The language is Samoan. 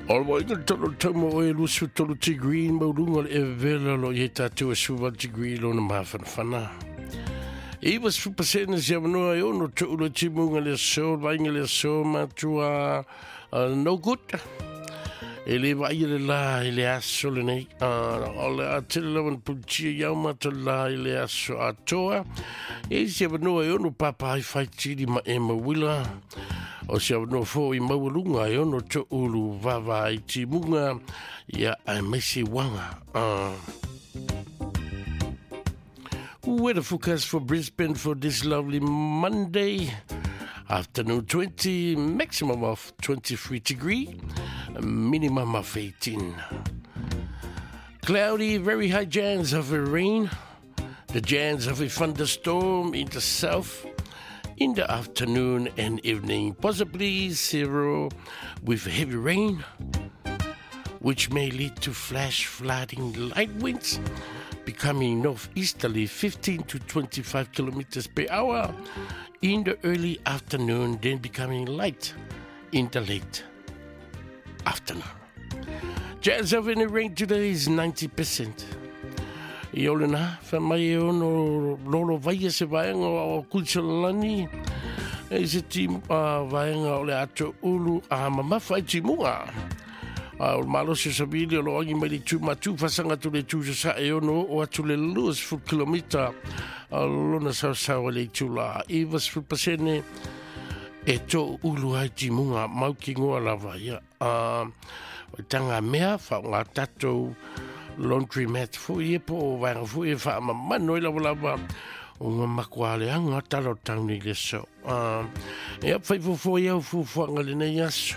O le waiga le talo tau mo oe 23 degree mauluga le evela lo i tātou e suva degree lona mafanafana. 90% se avanoa e ono to'u le timuga le aso, le vaaiga le aso matua no good. E le vaaia le la i le aso lenei. O le a tele lava na pulitia i au matou la i le aso atoa. E i se avanoa e ono papa ai faitili ma e mauila. O se avanoa foi maualuga e ono to'ulu vava ai timuga ia aemaise uaga. Weather forecast for Brisbane for this lovely Monday afternoon: 20, maximum of 23 degree, minimum of 18. Cloudy, very high chance of a rain, the chance of a thunderstorm in the south in the afternoon and evening, possibly zero with heavy rain, which may lead to flash flooding. Light winds becoming northeasterly 15 to 25 kilometers per hour in the early afternoon, then becoming light in the late afternoon. Chance of any rain today is 90%. I ole nā, wha mai e ono lolo vaia se vaenga o Kuisalani, e se ti vaenga o le ato ulu a mamafa i timuga. A o le malosi o savili o lo agi mai le tu matu fasanga tu le tu sa e ono o atu le 20 kilomita a lona sausau le itu la. 90% e tō ulu ai timuga mau ki ngoa lava ia. O tanga mea wha ngā tātou laundry mat fo i e po o vaenga fo i e wha mamano i lava lava o ngā makuale anga talo tauni le so. E ap whai fo i au fuafuaga lenei aso.